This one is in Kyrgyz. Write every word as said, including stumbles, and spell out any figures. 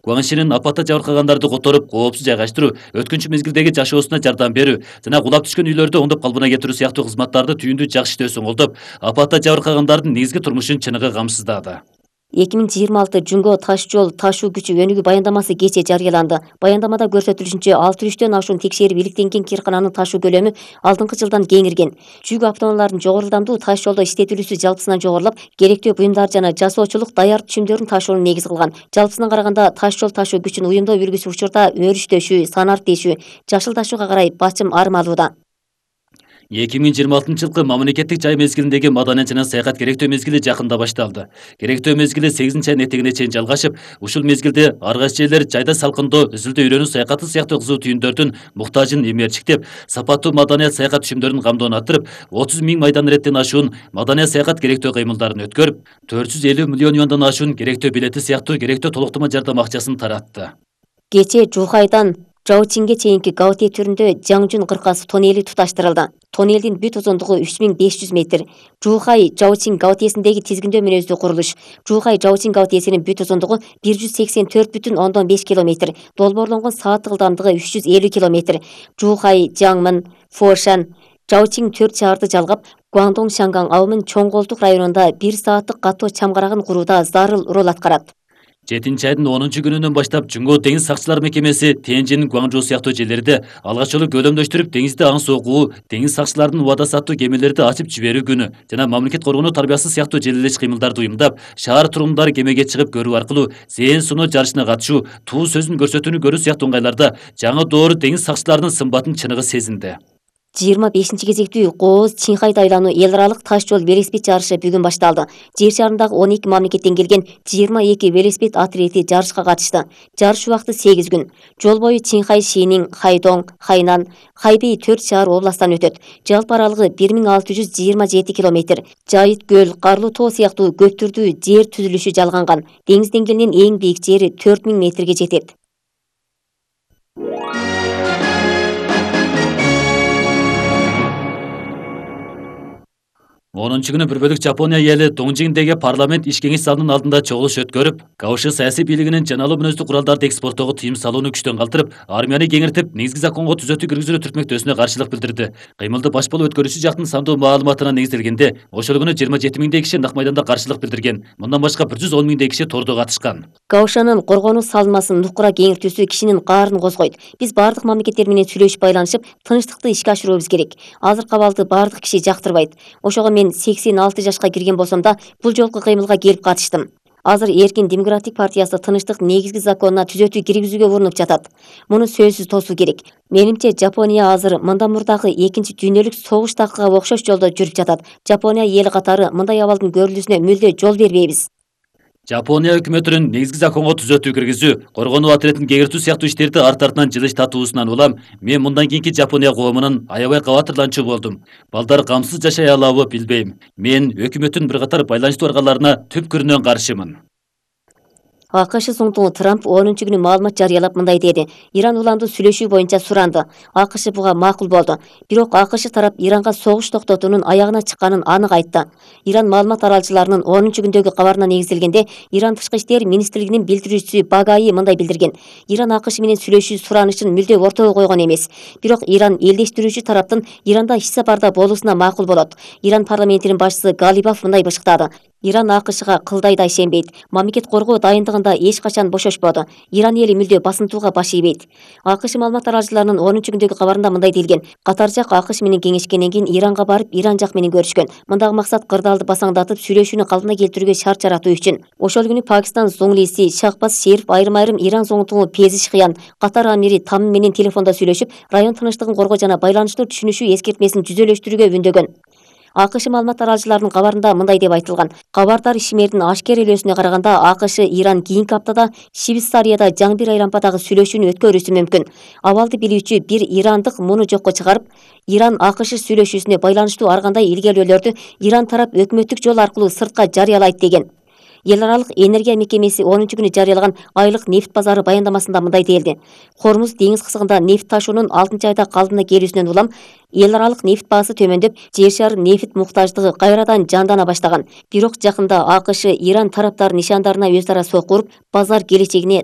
Гуаншинин апатта жабыркагандарды которуп, коопсуз жайгаштыруу, өткүнчү мезгилдеги жашоосуна жардам берүү жана кулап түшкөн үйлөрдү оңдоп калыбына келтирүү сыяктуу кызматтарды түйүндүү жакшы иштөөсүн колдоп, апатта жабыркагандардын негизги турмушун чыныгы камсыздады. эки миң жыйырма алты Жүнгө таш жол ташуу күчү өнүгүү баяндамасы кечээ жарыяланды. Баяндамада көрсөтүлүшүнчө алты жүз үчтөн ашуун текшерип иликтенген кыйркананын ташуу көлөмү алдыңкы жылдан кеңирген. Жүк автоунааларынын жогору ылдамдуу таш жолдо иштетилүүсү жалпысынан жогорулап, керектүү буюмдар жана жасоочулук даяр түшүмдөрүн ташууну негиз кылган. Жалпысынан караганда таш жол ташуу күчүн уюмдоо үлгүсү учурда өрүштөшүү, санартешүү, жашыл ташууга карай бачым армалууда. эки миң жыйырма алтынчы жылкы мамлекеттик жай мезгилиндеги маданият жана саякат керектөө мезгили жакында башталды. Керектөө мезгили сегизинчи айдын этегине чейин жалгашып, ушул мезгилде ар кайсы жерлер жайда салкындоо, үзүлдө үйрөнүү саякаты сыяктуу кызуу түйүндөрдүн муктажын эмерчиктеп, сапаттуу маданият саякат түшүмдөрүнүн камдоон арттырып, отуз миң майдан иреттен ашуун маданият саякат керектөө кыймылдарын өткөрүп, төрт жүз элүү миллион юандан ашуун керектөө билети сыяктуу керектөө толуктама жардам акчасын таратты. Кечээ Жухайдан Жаочинге чейинки Гаоте түрүндө Жаңжун кыркасы тоннели туташтырылды. Тоннелдин бүт узундугу үч миң беш жүз метр. Жухай Жаочин Гаотесиндеги тизгиндөө мүнөздүү курулуш. Жухай Жаочин Гаотесинин бүт узундугу бир жүз сексен төрт бүтүн ондон беш километр. Долбоорлонгон сааттык ылдамдыгы үч жүз элүү километр. Жухай, Жаңмын, Фошан, Жаочин төрт шаарды жалгап, Гуандong Шанган абымын Чоң Колтук районунда бир сааттык катоо чамгарагын курууда зарыл роль аткарат. жетинчи айдын онунчу күнүнөн баштап Жүнгө деңиз сакчылар мекемеси Тенжин, Гуанчжоу сыяктуу жерлерде алгач жолу көлөмдөштүрүп деңизде аң согуу, деңиз сакчыларынын убада саттуу кемелерди ачып жиберүү күнү жана мамлекет коргонуу тарбиясы сыяктуу желелеш кыймылдарды уюмдап, шаар тургундары кемеге чыгып көрүү аркылуу зээн суноо жарышына катышуу, туу сөзүн көрсөтүүнү көрүү сыяктуу ыңгайларда жаңы доор деңиз сакчыларынын сымбатын чыныгы сезинди. жыйырма бешинчи кезектүү Кооз Чинхайда айлануу эл аралык таш жол велосипед жарышы бүгүн башталды. Жер шарындагы он эки мамлекеттен келген жыйырма эки велосипед атлети жарышка катышты. Жарыш убакыты сегиз күн. Жол бою Чинхай, Шинин, Хайдоң, Хайнан, Хайбей төрт шаар областтан өтөт. Жалпы аралыгы бир миң алты жүз жыйырма жети километр. Жайыт көл, Карлуу тоо сыяктуу көптүрдүү жер түзүлүшү жалганган. Деңиз деңгээлинен эң бийик жери төрт миң метрге жетет. онунчу күнү бір бөлүк Жапония эли Доңжиңдеги парламент иш кеңеш залынын алдында чогулуш өткөрүп, Кабышы саясий бийлигинин жаналуу мүнөздүү куралдарды экспорттоого тыйым салууну күчтөн калтырып, армияны кеңиртип, негизги законго түзөтүү киргизүү түртмөктөөсүнө каршылык билдирди. Кыймылды баш болуп өткөрүүчү жактын сандуу маалыматына негизделгенде, ошол күнү жыйырма жети миңдей киши нак майданда каршылык билдирген. Мындан башка бир жүз он миңдей киши тордо катышкан. Каушанын коргонуу салынмасын нукура кеңиртүүсү кишинин каарын козгойт. Биз бардык мамлекеттер менен сүйлөшүп байланышып, тынчтыкты ишке ашыруубуз керек. Азыркы абалды бардык киши жактырбайт. Ошого мен сексен алты жашка кирген болсом да, бул жолку кыймылга келип катыштым. Азыр Эркин демократик партиясы тынчтык негизги законуна түзөтүү киргизүүгө урунуп жатат. Муну сөзсүз тосуу керек. Менимче Жапония азыр мындан мурдагы экинчи дүйнөлүк согуш такыга окшош жолдо жүрүп жатат. Жапония эли катары мындай абалдын көрүлүүсүнө мүлдө жол бербейбиз. Жапония өкмөтүнүн негизги законго түзөтүү киргизүү, коргонуу отрядын кеңиртүү сыяктуу иштерди арт артынан жылыш татуусунан улам, мен мындан кийинки Жапония коомунун аябай кабатырланчу болдум. Балдар камсыз жашай алабы билбейм. Мен өкмөттүн бир катар байланыштуу аргаларына түпкүрүнөн каршымын. АКШ соңтугу Трамп онунчу күнү маалымат жарыялап мындай деди. Иран уланды сүйлөшүү боюнча суранды. АКШ буга макул болду. Бирок АКШ тарап Иранга согуш токтотуунун аягына чыкканын анык айтты. Иран маалымат аралчыларынын онунчу күндөгү кабарына негизделгенде, Иран тышкы иштер министрлигинин билдирүүчүсү Багаи мындай билдирген. Иран АКШ менен сүйлөшүү суранышын мүлдө ортого койгон эмес. Бирок Иран элдештирүүчү тараптын Иранда иш сапарда болуусуна макул болот. Иран парламентинин башчысы Галибаф мындай бышыктады. Иран АКШга кылдай да ишенбейт. Мамлекет коргоо дайындыгында эч качан бошошподу. Иран эли мүлдө басынтууга баш ийбейт. АКШ маалымат аралчыларынын онунчу күндөгү кабарында мындай делген. Катар жак АКШ менен кеңешкенден кийин Иранга барып, Иран жак менен көрүшкөн. Мындагы максат кырдаалды басаңдатып, сүйлөшүүнү калпына келтирүүгө шарт жаратуу үчүн. Ошол күнү Пакистан зоңлиси Шахбаз Шериф айрым-айрым Иран зоңтугу Пезишхиян, Катар амири Там менен телефондо сүйлөшүп, район тынчтыгын коргоо жана байланыштуу түшүнүшүү эскертмесин жүзөлөштүрүүгө үндөгөн. АКШ маалымат аралчыларынын кабарында мындай деп айтылган. Кабардар ишмердин ашкерелөөсүнө караганда АКШ Иран кийинки аптада Швейцарияда жаңбир айлампадагы сүйлөшүүнү өткөрүүсү мүмкүн. Абалды билүүчү бир ирандык муну жокко чыгарып, Иран АКШ сүйлөшүүсүнө байланыштуу ар кандай илгерүүлөрдү Иран тарап өкмөттүк жол аркылуу сыртка жарыялайт деген. Эл аралык энергия мекемеси онунчу күнү жарыялаган айлык нефт базары баяндамасында мындай делди. Хормуз деңиз кысыгында нефт ташуунун алтынчы айда калдына келүүсүнөн улам эл аралык нефт баасы төмөндөп, жер шары нефт муктаждыгы кайрадан жандана баштаган. Бирок жакында АКШ Иран тараптарынын нишандарына өз ара сокуруп, базар келечегине